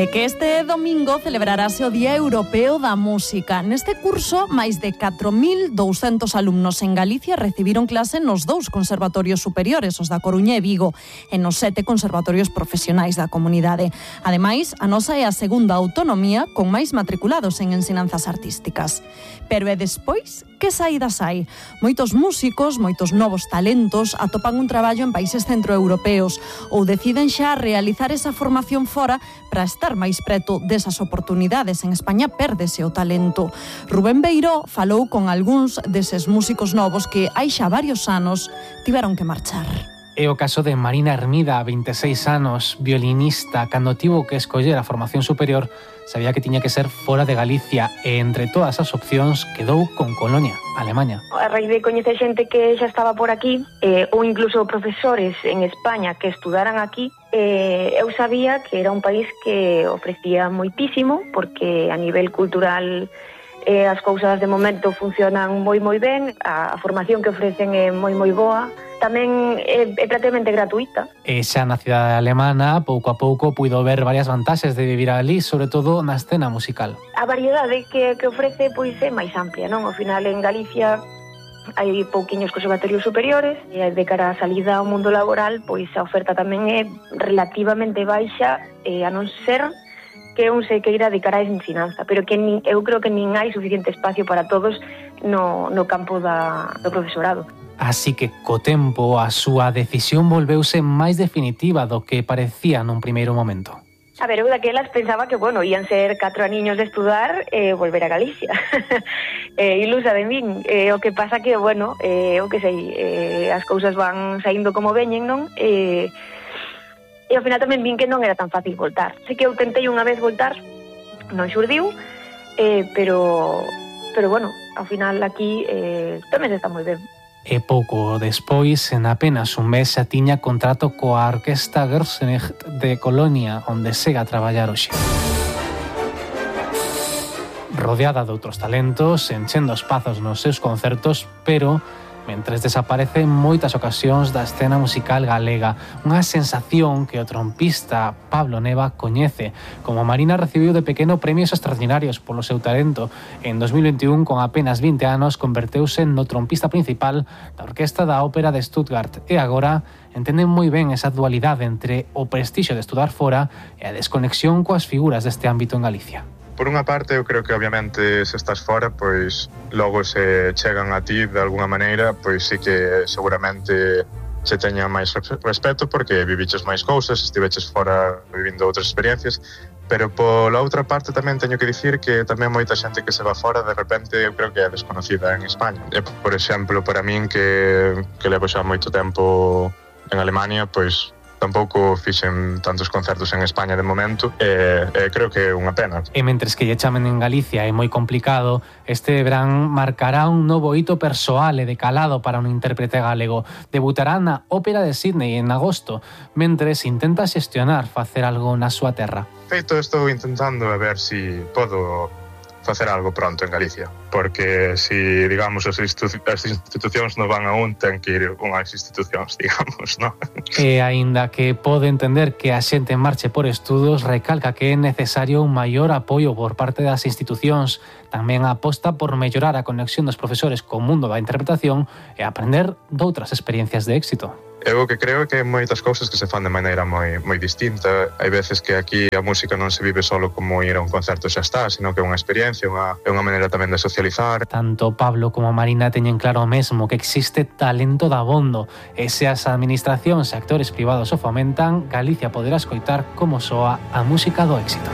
Que este domingo celebrarase o Día Europeo da Música. Neste curso, máis de 4.200 alumnos en Galicia recibiron clase nos 2 conservatorios superiores, os da Coruña e Vigo, e nos 7 conservatorios profesionais da comunidade. Ademais, a nosa é a segunda autonomía con máis matriculados en ensinanzas artísticas. Pero e despois, que saídas hai? Moitos músicos, moitos novos talentos atopan un traballo en países centroeuropeos ou deciden xa realizar esa formación fora para estar máis preto desas oportunidades. En España pérdese o talento. Rubén Beiró falou con algúns deses músicos novos que hai xa varios anos tiveron que marchar. É o caso de Marina Hermida, 26 anos, violinista, cando tivo que escoller a formación superior, sabía que tiña que ser fora de Galicia e entre todas as opcións quedou con Colonia, Alemaña. A raíz de coñecer xente que xa estaba por aquí, ou incluso profesores en España que estudaran aquí, eu sabía que era un país que ofrecía moitísimo, porque a nivel cultural as cousas de momento funcionan moi ben, a formación que ofrecen é moi boa, tamén é prácticamente gratuita. E xa na cidade alemana, pouco a pouco, puido ver varias vantaxes de vivir ali, sobre todo na escena musical. A variedade que ofrece pois é máis amplia, non? Ao final en Galicia hai pouquiños conservatorios superiores e de cara á salida ao mundo laboral, pois a oferta tamén é relativamente baixa, a non ser que un se queira dedicar á ensinanza, pero que eu creo que nin hai suficiente espacio para todos no campo do profesorado. Así que, co tempo, a súa decisión volveuse máis definitiva do que parecía nun primeiro momento. A ver, eu daquelas pensaba que, ian ser 4 aniños de estudar e volver a Galicia. Ilusa de min. O que pasa que, o que sei, as cousas van saindo como veñen, non? E ao final tamén vin que non era tan fácil voltar. Sei que eu tentei unha vez voltar, non xurdiu, pero ao final aquí tamén está moi ben. E pouco despois, en apenas un mes, xa tiña contrato coa Orquesta Gerstenich de Colonia, onde segue a traballar hoxe. Rodeada de outros talentos, enchendo espazos nos seus concertos, pero mentres desaparece en moitas ocasións da escena musical galega, unha sensación que o trompista Pablo Neva coñece. Como Marina recibiu de pequeno premios extraordinarios polo seu talento. En 2021, con apenas 20 anos, converteuse no trompista principal da Orquesta da Ópera de Stuttgart e agora entenden moi ben esa dualidade entre o prestixio de estudar fora e a desconexión coas figuras deste ámbito en Galicia. Por unha parte, eu creo que obviamente se estás fora, pois logo se chegan a ti de alguna maneira, pois sí que seguramente se teña máis respeto porque viviches máis cousas, estiveches fora vivindo outras experiencias, pero pola outra parte tamén teño que dicir que tamén moita xente que se va fora de repente eu creo que é desconocida en España. E, por exemplo, para min que levo xa moito tempo en Alemania, pois tampouco fixen tantos concertos en España de momento e creo que é unha pena. E mentres que lle chamen en Galicia é moi complicado, este verán marcará un novo hito persoal e de calado para un intérprete galego. Debutará na Ópera de Sydney en agosto, mentres intenta xestionar facer algo na súa terra. Feito, estou intentando a ver si podo facer algo pronto en Galicia, porque si, digamos, as institucións non van a ten que ir unhas institucións, digamos, non? E aínda que pode entender que a xente marche por estudos, recalca que é necesario un maior apoio por parte das institucións. Tamén aposta por mellorar a conexión dos profesores co mundo da interpretación e aprender doutras experiencias de éxito. Eu que creo que hai moitas cousas que se fan de maneira moi distinta. Hai veces que aquí a música non se vive solo como ir a un concerto xa está, sino que é unha experiencia, é unha maneira tamén de socializar. Tanto Pablo como Marina teñen claro mesmo que existe talento dabondo e se as administracións e actores privados o fomentan, Galicia poderá escoitar como soa a música do éxito.